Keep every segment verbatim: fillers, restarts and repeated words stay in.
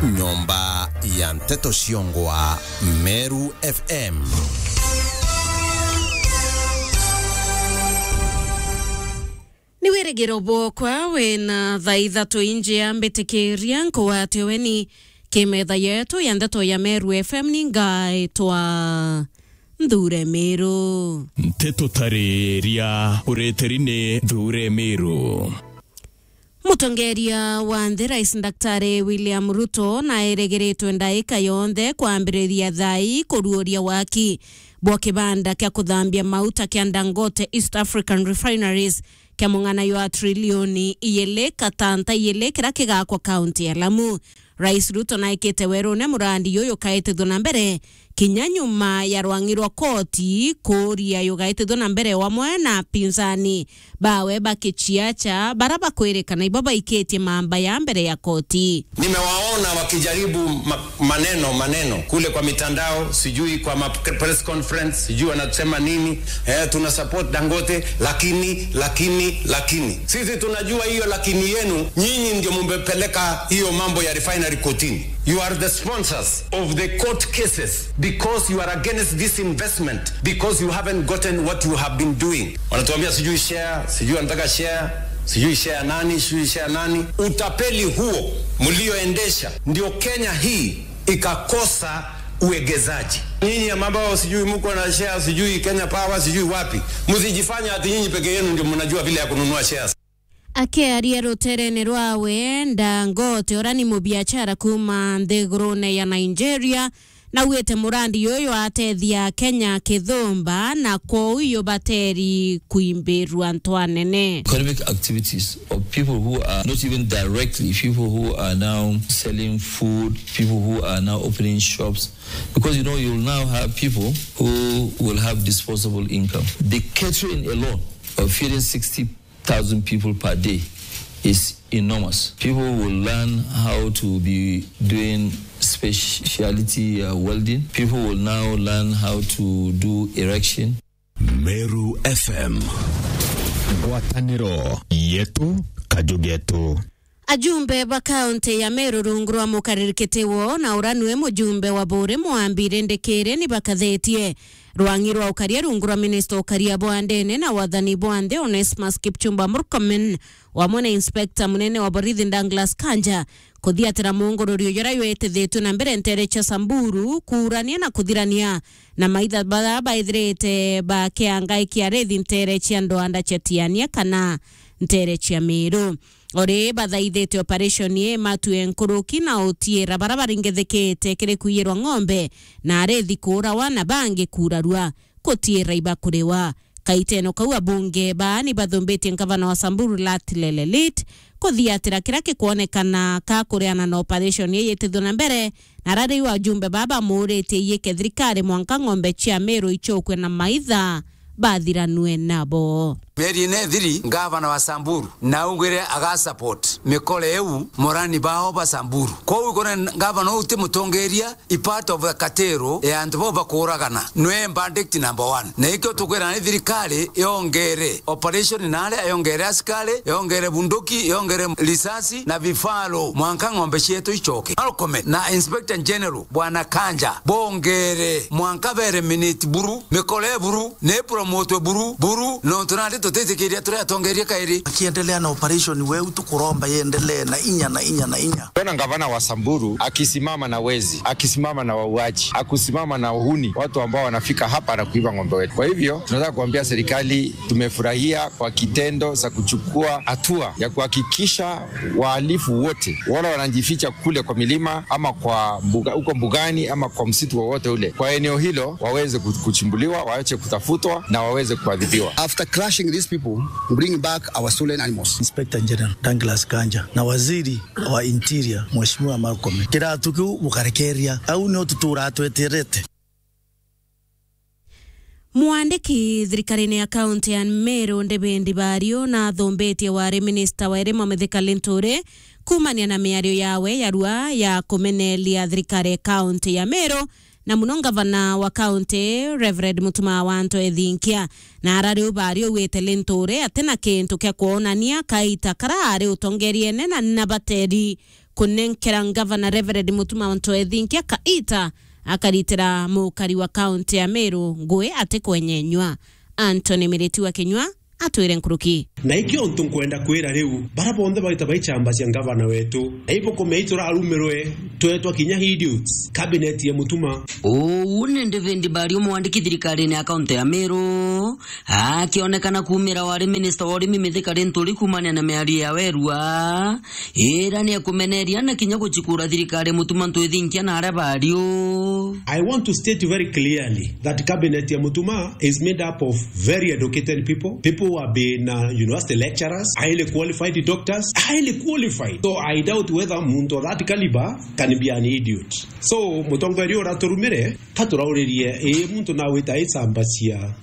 Nyomba ya nteto ciongwa Meru F M. Ni wirigiro bwokwa wina thaa ithatu injia mbitikiria nkugwate weni ki metha yetu ya ndeto ya Meru F M. Ni ngaitwa Nthure Miru. Nteto tariria ureteri ni Nthure Miru. Mutongeria wa nthi Rais Daktari William Ruto naeregeretwe ndaika yonthe kwambiriria thaa ii kuruuria waki bwa kibanda kia kuthambia mauta kia Dangote East African Refineries kia mung'ana jwa trilioni ijiri katanta ijiri kiria kigakwa kaunti ya Lamu. Rais Ruto naikite werune murandi juju ukaitithua na mbere kinya nyuma ya rwang'i rwa koti kuuria jugaitithua na mbere wamwe na apinzani bawe ba kiciacha bara bakwirikana ibo baikitie mamba ya mbere ya koti. Nimewaona wakijaribu ma-, maneno, maneno kule kwa mitandao, sijui kwa ma-, press conference, sijui wanasema nini, eh, tuna support Dangote, lakini, lakini, lakini. Sisi tunajua hiyo lakini yenu, nyinyi ndio mumepeleka hiyo mambo ya refinery kotini. You are the sponsors of the court cases because you are against this investment, because you haven't gotten what you have been doing. Wanatuambia sijui share, sijui wanataka share, sijui share nani, sijui share nani. Utapeli huo mlioendesha ndio Kenya hii ikakosa uegezaji. Nyinyi ambao sijui mko na share, sijui Kenya Power, sijui wapi, msijifanya ati nyinyi peke yenu ndio mnajua vile ya kununua shares. Akiaria ruterene rwawe, Dangote uria ni mubiachara kuuma nthigurune ya Nigeria, naugite murandi juju atethia Kenya kithumba, na kwou jubateri kwimbirua ntwanene. Economic activities of people who are not even directly people who are now selling food, people who are now opening shops, because, you know, you'll now have people who will have disposable income. The catering alone of feeding sixty thousand people per day is enormous. People will learn how to be doing specialty, uh, welding. People will now learn how to do erection. Meru F M. Ngwataniro yetu, kaju getu. Ajumbe ba kaunti ya Meru rungu rwa mukariri kiti wo na uria nwe mujumbe wa Buuri Mwambi Rindikiri ni bakathitie rwang'i rwa ukaria rungu rwa minista ukaria bwa ndene na wathani bwa nthi Onesmus Kipchumba Murkomen, wamwe na inspector munene wa borithi Douglas Kanja, kuthiatira mungururi juria jwitithitue na mbere nteere cia Samburu, kuurania na kuthirania na maitha baria baithirite bakiangaiki arithi nteere cia ndwanda cia Tiania kana nteere cia Miru. Ori bathaithite operation ii matue nkuruki na utiira baria baringithikite kiri kwiyirwa ng'ombe na arithi kuurawa na bangi kuurarua, gutiira ibakuriwa. Kaiteno kau abunge baa ni bathumbitie ngavana wa Samburu Lat Lelelit kuthiatira kiria gikwonekana ka kuriana na operation ii yitithwe na mbere, na ara riu ajumbe baa bamuuritie iyike thirikari mwanka ng'ombe cia Miru icukue na maitha bathiranue nabo. Mieri ina ithiri, ngavana wa Samburu naugire aga support mikore iu morani bao ba Samburu. Kwou ikore ngavana uu ti mutongeria, i part of the cartel ya antu bau bakuuragana. Nwe bandit number one. Na ikio tukwira ni thirikari yongere operation na aria yongere askari, yongere bunduki, yongere risasi na vifaru, mwanka ng'ombe cietu icoke. Murkomen na Inspector General Bwana Kanja bongere mwanka bere minute buru, mikore buru, ni promotwe buru, buru, nontu nandi tutitikiria turi atongeria kairi. Akiendelea na operation weu tukuromba yendelee na inya, na inya, na inya. Tuna gavana wa Samburu akisimama na wezi, akisimama na wauaji, akisimama na uhuni, watu ambao wanafika hapa na kuiba ng'ombe wetu. Kwa hivyo, tunataka kuambia serikali tumefurahia kwa kitendo za kuchukua hatua ya kuhakikisha wahalifu wote, wale wanajificha kule kwa milima ama kwa mbuga, huko mbugani ama kwa msitu wowote ule, kwa eneo hilo waweze ku-, kuchimbuliwa, waache kutafutwa na waweze kuadhibiwa. After crushing these people, bring back our stolen animals. Inspector General Douglas Kanja na waziri wa Interior, Mheshimiwa Murkomen. Kiratu kiu bukarekeria, au nio tutura tweterete. Mwandiki thirikarine ya kaunti ya Meru, David Bario, nathumbitie wari minista wa irimo Mithika Linturi kuumania na miario yawe yarua ya kumeneria thirikari ya kaunti ya Meru, na muno ngavana wa kaunti, Reverend Mutuma wa Anto Ethinkia. Na ara riu Bario augite Linturi atina kintu kia kwonania kaita kara ari utongeriene na, na bateri kunenkera ngavana Reverend Mutuma M'Ethingia kaita akaritira mukari wa kaunti ya Meru ngui atikwenyenywa. Anthony Miriti wa Kinyua atwire nkuruki. Na ikio untu nkwenda kwira riu, bara bonthe baita baichamba cia ngavana wetu, na ibukumea iturarumirwe, twetwa kinya idiots, cabinet ya Mutuma. Uu ni David Mbario, mwandiki thirikarine ya kaunti ya Meru, akionekana kuumira wari minista wa urimi Mithika Linturi kuumania na miario ya Werua, ira ni akumeneria na kinya guchikura thirikari ya Mutuma M'Ethingia na aria bario. I want to state very clearly that cabinet ya Mutuma is made up of very educated people, people who have been, uh, university lecturers, highly qualified doctors, highly qualified. So I doubt whether muntu of that caliber can be an idiot. So, mutongoria uraturumire, ka turauririe, ii, muntu nawita icamba cia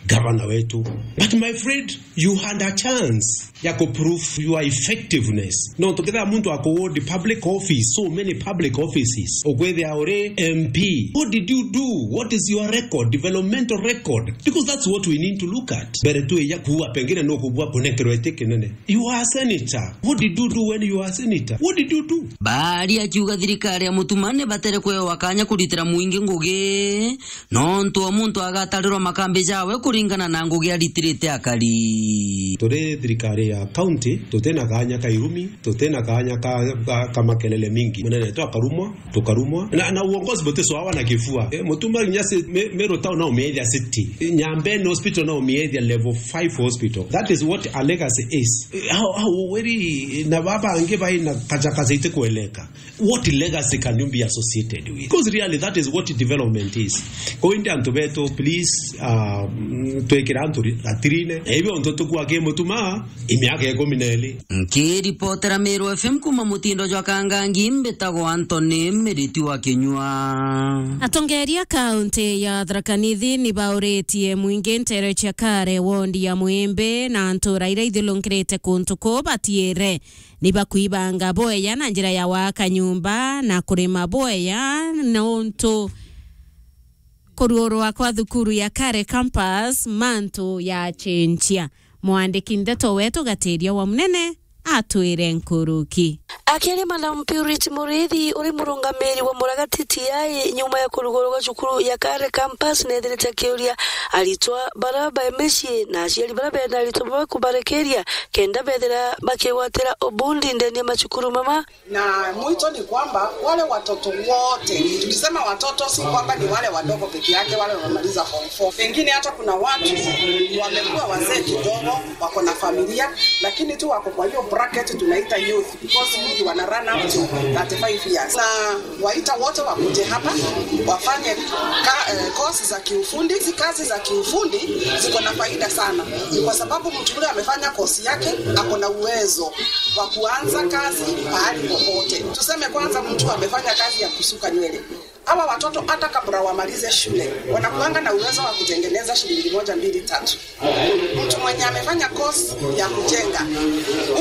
gavana wetu. But my friend, you had a chance ya ku prove your effectiveness. No, tukithira muntu akuward public office, so many public offices, ukwithia uri M P. What did you do? What is your record, developmental record? Because that's what we need to look at. Mbere tu ya kuua, pengine no kubua kunenkerwa iti kinene. You are a senator. What did you do when you are a senator? What did you do? Bari akiuga thirikari ya Mutuma ni batere kwewa kanya kuritira mwingi ngugi, nontu o muntu agatarirwa makambi jawe kuringana na ngugi aritirite akari. Turi thirikari ya county, tutina kanya ka irumi, tutina kanya ka, ka, ka makelele mingi. Munene tu akarumwa, tukarumwa. Na, na uongozi butiswawa na kifua. Eh, Mutuma kinya si-, Me-, Meru town no umiethia city. Nyambene hospital no umiethia level five hospital. That is what a legacy is. Eh, how, how, weri, na baba angi bai na kacha kacha ite kueleka. What legacy can you be associated with? Because really, that is what development is. Kwa indi antu betu, please, uh, mm, twikira antu ri-, gatirine. Na ibio ntu tukua ki Mutuma, imiaka ikumi na iri. Nkiripotera Meru F M kuma mutindo jwa Kangangi, mbitagwa Anthony Miriti wa Kinyua. Atongeria kaunti ya Tharaka Nithi ni bauritie mwingi ntere cia Kare, wondi ya Mwimbi na ntura iria ithiurungirite kuntu kuu batiire ni bakwibanga bwega na njira ya gwaka nyumba na kurima bwega, nontu kuruurwa kwa thukuru ya Kare Campus mantu yachenjia. Mwandiki ndeto wetu Gatiria wa Munene atwire nkuruki. Akiaria Madam Purity Murithi, uri murungamiri wa Muragati T I, nyuma ya kurugurwa gwa cukuru ya Kare Campus, nethirite akiuria aritwa bara bai micii na aciari bara bena aritwa bamwe kubarekeria kenda bethira bakigwatira ubundi ndene ya macukuru mama. Na mwito ni kwamba wale watoto wote, tukisema watoto, si kwamba ni wale wadogo peke yake, wale wamemaliza form four. Pengine hata kuna watu wamekuwa wazee kidogo, wako na familia, lakini tu wako kwa hiyo bracket tunaita youth, because wengi wana run up to thirty-five years. Na waita wote wakuje hapa, wafanye ka-, eh, course za kiufundi. Hizi kazi za kiufundi ziko na faida sana, ni kwa sababu mtu yule amefanya course yake, ako na uwezo wa kuanza kazi pahali popote. Tuseme kwanza mtu amefanya kazi ya kusuka nywele. Hawa watoto hata kabla wamalize shule, wanakuanga na uwezo wa kutengeneza shilingi moja, mbili, tatu. Mtu mwenye amefanya course ya kujenga,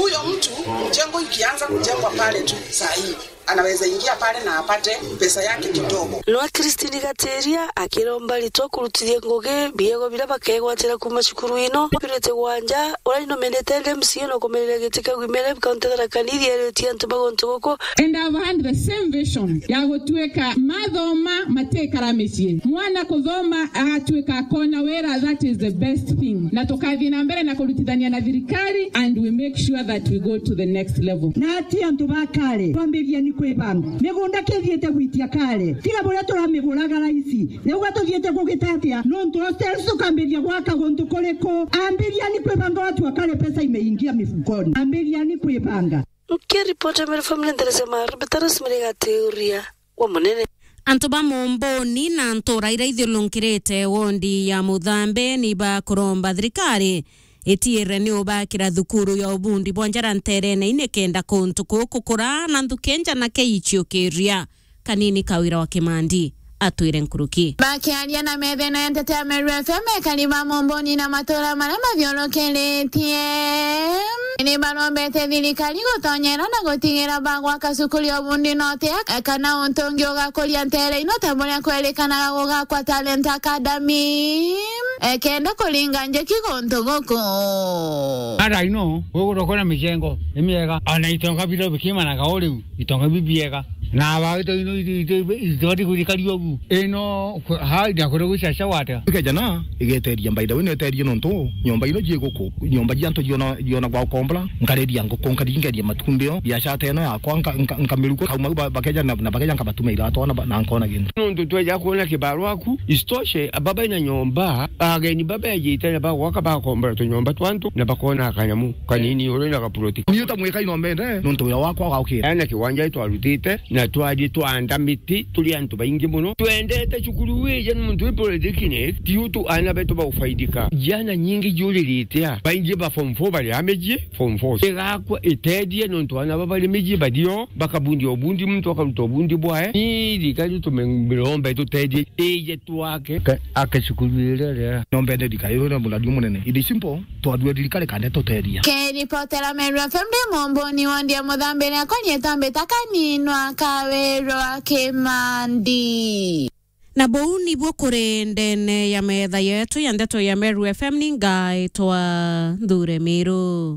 huyo mtu, mjengo ikianza kujengwa pale tu saa hii, anaweza ingia pale na apate pesa yake kidogo. Nwa Christine Gatiria akiromba aritwa kurutithia ngugi biego biria bakegwatira kuuma cukuru ino. Purity Gwanja, uria ni nominated M C A na kumereria giti kia Women Rep kaunti ya Tharaka Nithi, eritie antu ba guntu guku. And I've had the same vision ya gutuika mathoma matikara micii. Mwana kuthoma agatuika akona wira, that is the best thing. Na tukathii na mbere na kurutithania na thirikari and we make sure that we go to the next level. Na ati antu ba Kare, twambirieni kwibanga. Migunda kithiite gwitia Kare. Tiga buria turamiguraga raici. Riu gatuthiite kugita atia? Nontu hostels tukambiria gwaka guntu kuriku? Ambiriani kwibanga, watu wa Kare pesa imeingia mifukoni. Ambiriani kwibanga. Nkiripota Meru Family Interest ya Maru, Betarus Miriga Tiuria wa Munene. Antu ba Momboni na ntura iria ithiurungirite wondi ya Muthambe ni bakuromba thirikari itiire ni ubakira thukuru ya ubundi bwa njara nterene ini kenda kuntu kuu kukura na nthuki nja na keichiukiria. Kanini Kawira wa Kimandi atwire nkuruki. Bakiaria na methene ya nteto ya Meru F M, ekari ba Momboni na matura maria mathiurukiritie ni barombete thirikari gutonyera na gutigira bagwaka cukuru ya ubundi note kana untu ungi ugakuria ntere ino ta buria kwerikanaga gugakwa Talent Academy. ekenda kuringa njeki guntu guku. Ara ino, gwe gutokona micengo, ni miega. Ona itonga biro bikimanaga o riu, itonga bibiega. Na bagito ino, ito, ito, itibati kuthikaria ugu. Ino, ku-, ha, ndia kuri gwicaca gwate. Ikejana, igeteria, by the way, neterie nontu, nyomba ino jie guku, nyomba jia antu jiona, jiona gwa ukombora, nkariria nguku, nkaringeria matumbio, biashara ta ino yakwa, nka-, nka-, nkamiruka, kauma ba-, bakeja na, na bakeja nkabatuma iratu, na ba-, na nkona gintu. Nontu tweja kwona kibaru aku, isitoshe, baba ina nyomba, ageni baba ejite na bagwaka bakombora tunyomba twa antu, na bakona kanyamu kanini uri na gaploti. Ni utamwika ino mbende, nontu wira wakwa ugaukira. Ena kiwanja twarutite, na twathie twanda miti, turi antu baingi muno. Twendete cukuru wije ni muntu wi polytechnic, ti utu ana betu baufaidika. Jana nyingi juririte a, baingi ba form four bari a miji, form four. Igakwa itethie nontu ana ba bari miji bathio, bakabundia ubundi, muntu akaruta ubundi bwae. Ni thirikari tumirombe tutethie, ije twake. Ke-, ake cukuru iria ria. Nombe nde thirikari iria muradi munene. It is simple. Twathua thirikari kande tuteria. Kiripotera Meru F M ndi Mumbuni wondi ya Muthambiri akwa nyetambita kaninwa Kawirwa Kimandi. Na buu nibuo kuri ndene ya metha yetu ya ndeto ya Meru F M, ni ngaitwa Nthure Miru.